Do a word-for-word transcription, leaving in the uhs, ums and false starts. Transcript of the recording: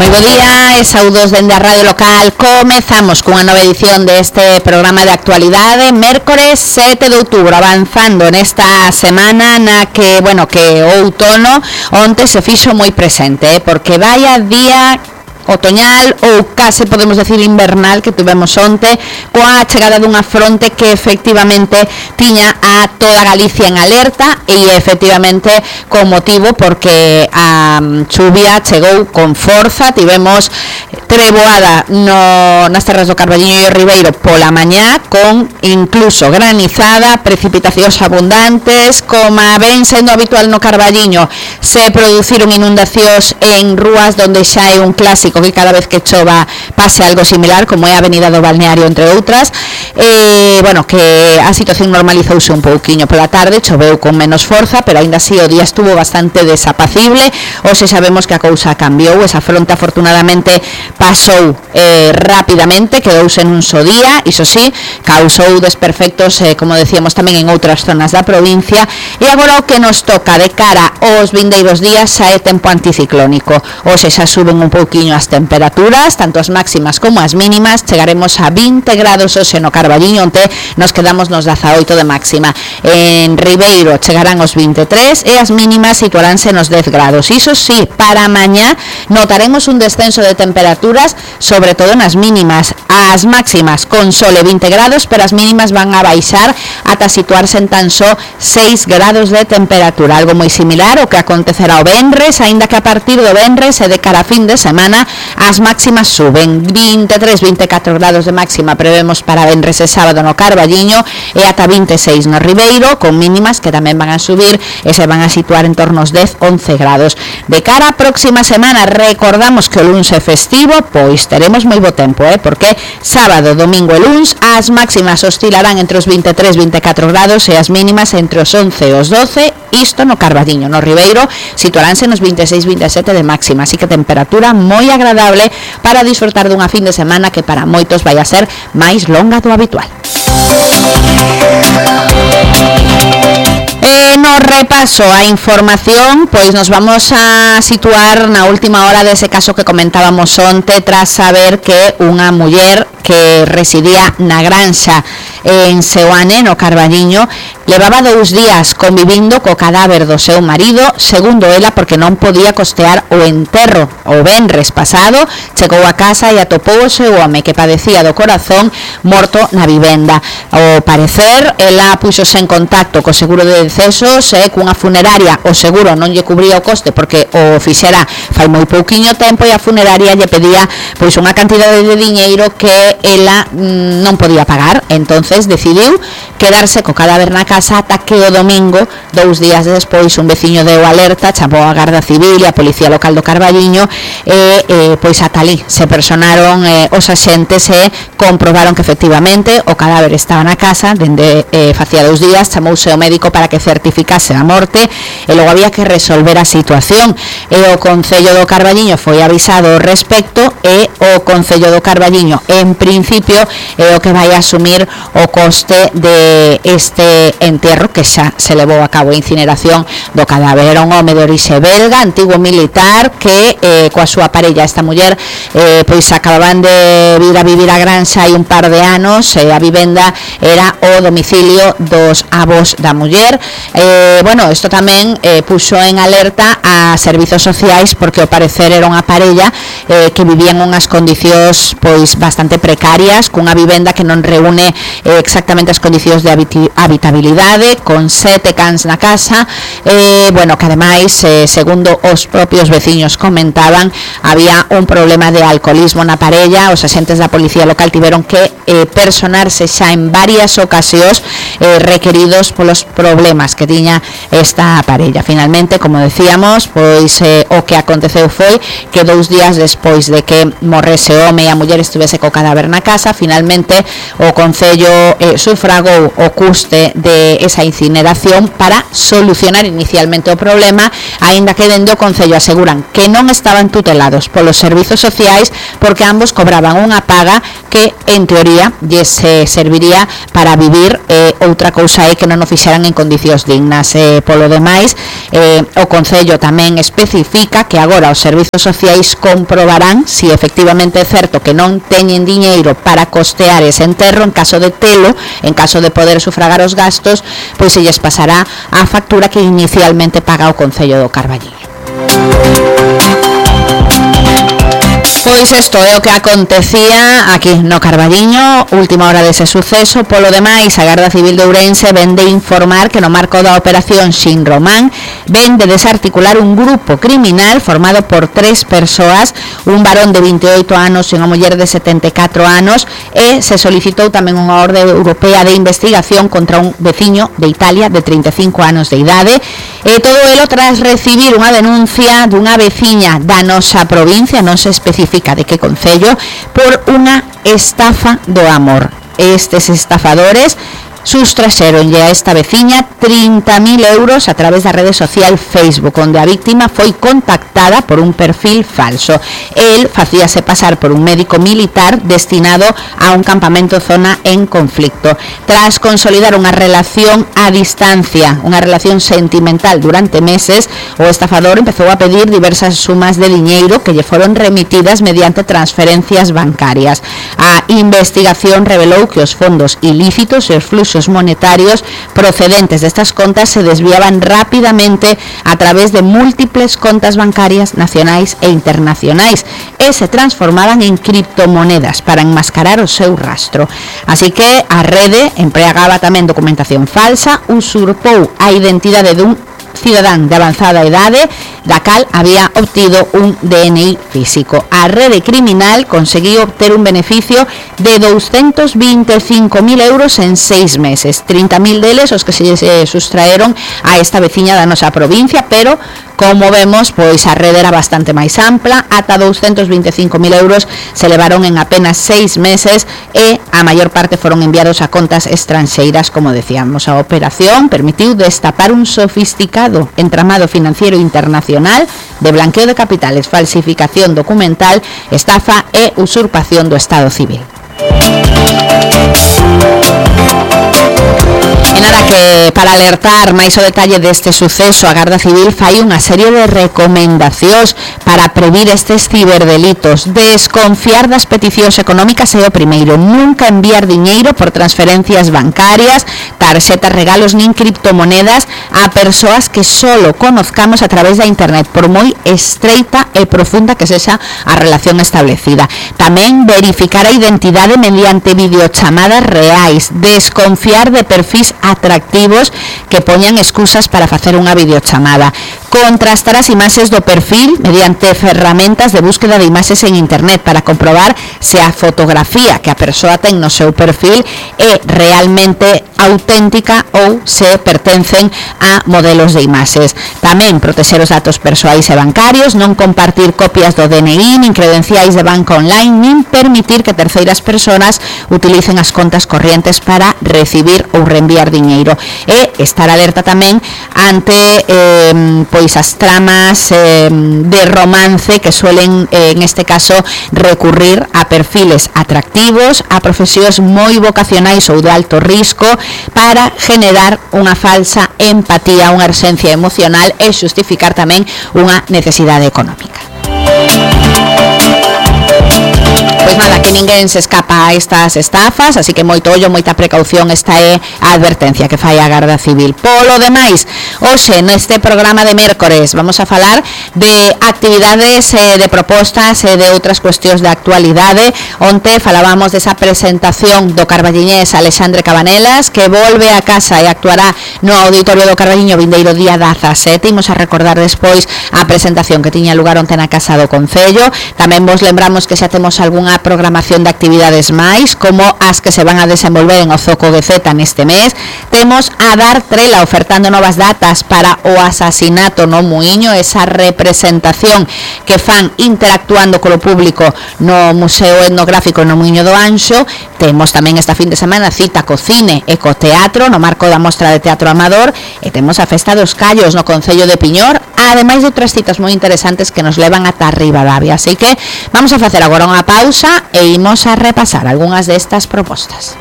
Moi bo día e saudos dende a radio local. Comezamos cunha nova edición deste programa de actualidade, mércores sete de outubro, avanzando nesta semana na que, bueno, que o outono onte se fixo moi presente, eh, porque vaya día otoñal ou case podemos decir invernal que tivemos onte, coa chegada dunha fronte que efectivamente tiña a toda Galicia en alerta e efectivamente con motivo porque a chuvia chegou con forza. Tivemos treboada no, nas terras do Carballiño e o Ribeiro pola mañá, con incluso granizada, precipitacións abundantes, como ven sendo habitual no Carballiño. Se produciron inundacións en rúas donde xa é un clásico que cada vez que chova pase algo similar, como é a Avenida do Balneario, entre outras. E, bueno, que a situación normalizouse un pouquiño pola tarde, choveu con menos forza, pero aínda así o día estuvo bastante desapacible. Hoxe sabemos que a cousa cambiou, esa fronte afortunadamente pasou eh, rapidamente, quedouse nun só día, iso sí, causou desperfectos, eh, como decíamos, tamén en outras zonas da provincia. E agora o que nos toca de cara aos vindeiros días xa é tempo anticiclónico. Hoxe xa suben un pouquiño as temperaturas, tanto as máximas como as mínimas. Chegaremos a vinte grados hoxe no Carballiño, onte nos quedamos nos dezaoito de máxima. En Ribeiro chegarán os vinte e tres e as mínimas situaránse nos dez grados. Iso sí, para mañá notaremos un descenso de temperaturas, sobre todo nas mínimas. As máximas con sole vinte grados, pero as mínimas van a baixar ata situarse en tan só seis grados de temperatura, algo moi similar ao que acontecerá o venres, aínda que a partir do venres e de cara a fin de semana as máximas suben. vinte e tres, vinte e catro grados de máxima prevemos para venres e sábado no Carballiño e ata vinte e seis no Ribeiro, con mínimas que tamén van a subir e se van a situar en torno aos dez, once grados. De cara a próxima semana, recordamos que o luns é festivo, pois teremos moi bo tempo, eh? porque sábado, domingo e luns as máximas oscilarán entre os vinte e tres, vinte e catro grados e as mínimas entre os once e os doce, isto no Carballiño. No Ribeiro situaránse nos vinte e seis, vinte e sete de máxima, así que temperatura moi agradable para disfrutar dunha fin de semana que para moitos vai a ser máis longa do habitual. E no repaso a información, pois nos vamos a situar na última hora dese caso que comentábamos onte, tras saber que unha muller que residía na granxa en Seoane, no Carballiño, levaba dous días convivindo co cadáver do seu marido, segundo ela, porque non podía costear o enterro. O venres pasado chegou a casa e atopou o seu home, que padecía do corazón, morto na vivenda. Ao parecer, ela puxose en contacto co seguro de decesos e cunha funeraria. O seguro non lle cubría o coste porque o fixera fai moi pouquiño tempo e a funeraria lle pedía pois unha cantidade de diñeiro que ela mm, non podía pagar. Entonces decidiu quedarse co cadáver na casa ata que o domingo, dous días despois, un veciño deu alerta, chamou a Garda Civil e a Policía Local do Carballiño e eh, pois ata ali se personaron eh, os axentes e comprobaron que efectivamente o cadáver estaba na casa dende eh, facía dous días. Chamouse o médico para que certificase a morte e logo había que resolver a situación, e o Concello do Carballiño foi avisado ao respecto e o Concello do Carballiño en principio é o que vai asumir o coste de este entierro, que xa se levou a cabo a incineración do cadáver. Era un home de orixe belga, antigo militar, que eh, coa súa parella, esta muller, eh, pois acababan de vir a vivir a granxa hai un par de anos, e a vivenda era o domicilio dos avós da muller. Eh, bueno, isto tamén eh, puxo en alerta a servizos sociais, porque ao parecer era unha parella eh, que vivían unhas condicións pois bastante precarias, cunha vivenda que non reúne eh, exactamente as condicións de habitabilidade, con sete cans na casa, eh, bueno, que ademais, eh, segundo os propios veciños comentaban, había un problema de alcoholismo na parella. Os axentes da Policía Local tiveron que eh, personarse xa en varias ocasións eh, requeridos polos problemas que tiña esta parella. Finalmente, como decíamos, pois eh, o que aconteceu foi que dous días despois de que morrese o home e a muller estuvese co cadáver na casa, finalmente o Concello eh, sufragou o custe de esa incineración para solucionar inicialmente o problema, aínda que dende o Concello aseguran que non estaban tutelados polos servizos sociais porque ambos cobraban unha paga que en teoría lles eh, serviría para vivir eh, ou outra cousa é que non o fixeran en condicións dignas. Eh, polo demais, eh, o Concello tamén especifica que agora os servizos sociais comprobarán se si efectivamente é certo que non teñen diñeiro para costear ese enterro. En caso de telo, en caso de poder sufragar os gastos, pois se lles pasará a factura que inicialmente paga o Concello do Carballiño. Pois isto é o que acontecía aquí no Carballiño, última hora dese suceso. Polo demais, a Garda Civil de Ourense ven de informar que no marco da operación Xin Román ven de desarticular un grupo criminal formado por tres persoas, un varón de vinte e oito anos e unha muller de setenta e catro anos, e se solicitou tamén unha orde europea de investigación contra un veciño de Italia de trinta e cinco anos de idade, e todo elo tras recibir unha denuncia dunha veciña da nosa provincia, non se especifica de que concello, por unha estafa do amor. Estes estafadores sustraxeronlle a esta veciña trinta mil euros a través da rede social Facebook, onde a víctima foi contactada por un perfil falso. El facíase pasar por un médico militar destinado a un campamento zona en conflicto. Tras consolidar unha relación a distancia, unha relación sentimental durante meses, o estafador empezou a pedir diversas sumas de diñeiro que lle foron remitidas mediante transferencias bancarias. A investigación revelou que os fondos ilícitos e os fluxos monetarios procedentes de estas contas se desviaban rápidamente a través de múltiples contas bancarias nacionais e internacionais e se transformaban en criptomonedas para enmascarar o seu rastro. Así que a rede empregaba tamén documentación falsa, usurpou a identidade dun cidadán de avanzada idade, da cal había obtido un D N I físico. A rede criminal conseguiu obter un beneficio de doscientos veinticinco mil euros en seis meses, trinta mil deles os que se sustraeron a esta veciña da nosa provincia, pero como vemos, pois a rede era bastante máis ampla, ata doscientos veinticinco mil euros se levaron en apenas seis meses e a maior parte foron enviados a contas estranxeiras, como decíamos. A operación permitiu destapar un sofisticado entramado financiero internacional de blanqueo de capitales, falsificación documental, estafa e usurpación do Estado civil. E nada, que para alertar máis o detalle deste suceso, a Garda Civil fai unha serie de recomendacións para previr estes ciberdelitos. Desconfiar das peticións económicas é o primeiro. Nunca enviar diñeiro por transferencias bancarias, tarxetas, regalos nin criptomonedas a persoas que solo conozcamos a través da internet, por moi estreita e profunda que sexa a relación establecida. Tamén verificar a identidade mediante videochamadas reais. Desconfiar de perfis atractivos que poñan excusas para facer unha videochamada. Contrastar as imaxes do perfil mediante ferramentas de búsqueda de imaxes en internet para comprobar se a fotografía que a persoa ten no seu perfil é realmente auténtica ou se pertencen a modelos de imaxes. Tamén protexer os datos persoais e bancarios, non compartir copias do D N I nin credenciais de banco online, nin permitir que terceiras persoas utilicen as contas corrientes para recibir ou reenviar diñeiro, e estar alerta tamén ante eh, pois as tramas eh, de romance que suelen eh, en este caso recurrir a perfiles atractivos, a profesións moi vocacionais ou de alto risco para generar unha falsa empatía, unha urxencia emocional e xustificar tamén unha necesidade económica. Pois nada, que ninguén se escapa a estas estafas, así que moito ollo, moita precaución. Esta é a advertencia que fai a Garda Civil. Polo demais, hoxe neste programa de mércores vamos a falar de actividades, eh, de propostas e eh, de outras cuestións de actualidade. Onte falábamos desa presentación do carballiñés Alexandre Cabanelas, que volve a casa e actuará no Auditorio do Carballiño vindeiro día dezasete. Imos a recordar despois a presentación que tiña lugar onte na Casa do Concello. Tamén vos lembramos que xa temos algunha programación de actividades máis, como as que se van a desenvolver en Ozoco G Z neste mes. Temos a Dar Trela ofertando novas datas para o asasinato no Muiño, esa representación que fan interactuando co público no Museo Etnográfico no Muiño do Anxo. Temos tamén esta fin de semana cita co cine e co teatro no marco da Mostra de Teatro Amador, e temos a Festa dos Callos no Concello de Piñor, ademais de outras citas moi interesantes que nos levan ata Ribadavia. Así que vamos a facer agora unha pausa e imos a repasar algunhas destas propostas.